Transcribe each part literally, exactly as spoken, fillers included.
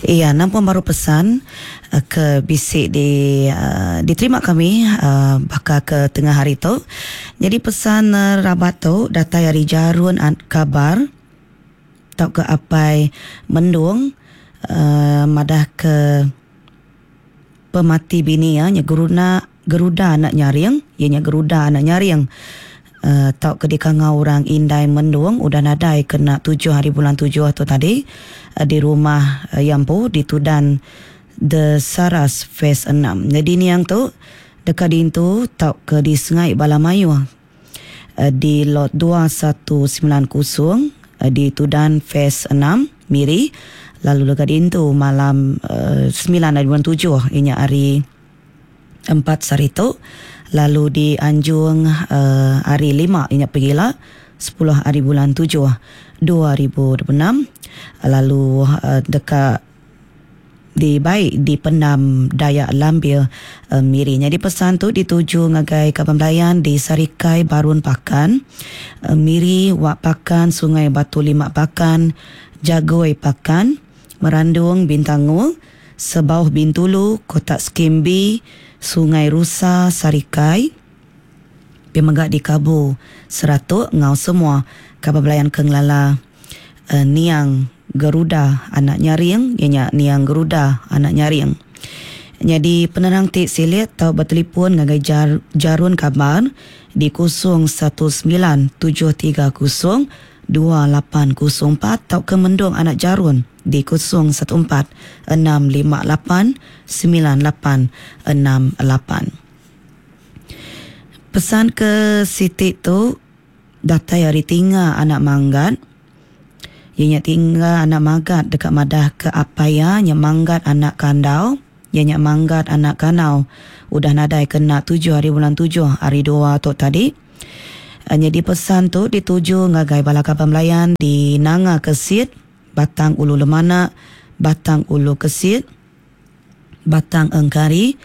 Iya, nampung baru pesan uh, ke bisi di uh, diterima kami uh, baka ke tengah hari tu. Jadi pesan uh, rabat tu datai ari Jarun Kabar tau ke apai Mendung uh, madah ke pemati bini ya nya Geruna Geruda anak nyaring, iya nya Geruda anak nyaring. Uh, tau ke dikangau orang Indai Mendung udah nadai kena tujuh hari bulan tujuh tu tadi uh, di rumah uh, Yampu di Tudan The Saras Phase enam. Jadi niang tu dekat dintu tau ke di Sungai Balamayu uh, di lot dua satu sembilan kosong uh, di Tudan Phase enam Miri, lalu dekat dintu malam uh, sembilan hari bulan tujuh inya hari empat sehari tu, lalu di Anjung uh, hari lima inya pergilah sepuluh hari bulan tujuh dua ribu dua puluh enam, lalu uh, dekat di baik di Pendam Dayak Lambir uh, Miri. Jadi pesan tu dituju ngagai kaban belayan di Sarikai Barun Pakan, uh, Miri Wak Pakan, Sungai Batu Lima Pakan, Jagoi Pakan, Merandung Bintangul, Sebauh Bintulu, Kotak Skim B, Sungai Rusa Sarikai, Pemegak di Kabu Seratuk ngau semua kaban belayan ke ngelala uh, Niang Geruda anak nyaring, ianya Niang Geruda anak nyaring. Jadi penerang ti silit tau bertelefon ngagai jar, Jarun Kabar di kosong satu sembilan tujuh tiga kosong dua lapan kosong empat tau ke Mendung anak Jarun di kosong satu empat enam lima lapan sembilan lapan enam lapan. Pesan ke Siti tu datai hari tinggal anak manggat. Ianya tinggal anak magat dekat madah ke apaya nya manggat anak kandau, ianya manggat anak kanau. Udah nadai kena tujuh hari bulan tujuh hari dua tu tadi. Jadi pesan tu dituju ngagai bala kaban belayan di Nanga Kesit, Batang Ulu Lemana, Batang Ulu Kesit, Batang Engkari,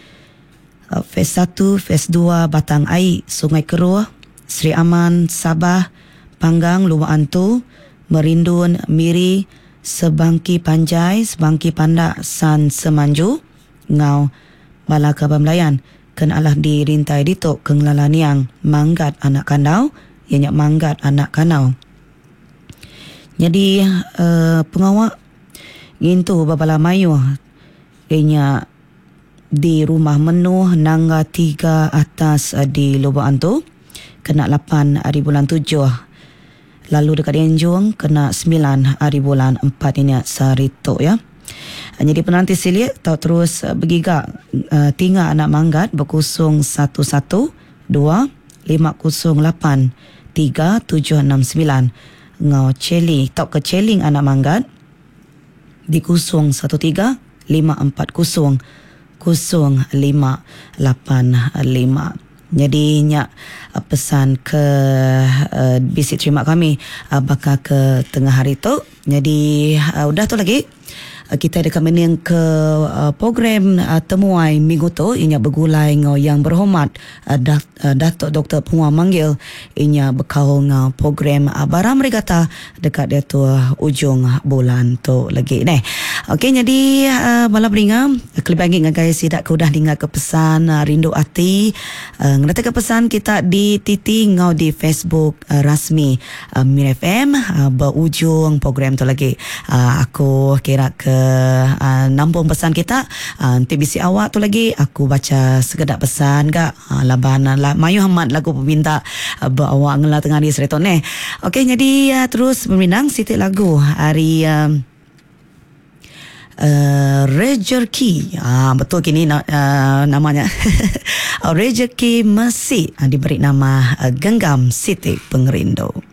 Phase satu, Phase dua, Batang Ai, Sungai Keruh, Sri Aman, Sabah, Panggang, Luak Antu, Merindun, Miri, Sebangki Panjai, Sebangki Pandak, San Semanju, Ngau, bala kaban belayan. Ken alah dirintai ditok ke ngelala niang manggat anak kandau, ianya manggat anak kanau. Jadi uh, pengawak ngintu babala mayu ianya di rumah menuh nangga tiga atas uh, di Lubuk Antu kena lapan hari bulan tujuh, lalu dekat Enjung kena sembilan hari bulan empat ini sehari tu ya. Jadi penanti silik tau terus bergiga uh, tinggal anak manggat berkosong satu satu dua lima kosong lapan tiga tujuh enam sembilan ngau celi tau ke celing anak manggat di kosong satu tiga lima empat kosong kosong lima lapan lima. Jadi nyak pesan ke uh, bisik terima kami uh, bakal ke tengah hari tu. Jadi uh, udah tu lagi kita dekat mening ke uh, program uh, temuai minggu tu inya bergulai ngau yang berhormat uh, Dat, uh, Datuk Doktor Penguang Manggil inya bekau ngau program uh, Baram Regata dekat dia tu uh, ujung bulan tu lagi neh. Okey, jadi uh, bala beringa kelebih ngagai sidak ke udah dengar ke pesan uh, rindu ati uh, ngerti ke pesan kita di T T ngau di Facebook uh, rasmi uh, Miri F M uh, berujung program tu lagi. Uh, aku kira ke Uh, nampung pesan kita uh, nanti bisi awak tu lagi aku baca sekedak pesan gak uh, laban uh, mayu amat lagu peminta uh, berawak ngela tengah di seriton eh. Okey, jadi uh, terus meminang sitik lagu hari uh, uh, Rejeki. Ah, betul kini uh, namanya Rejeki Mesi uh, diberi nama uh, Genggam Siti Pengerindu.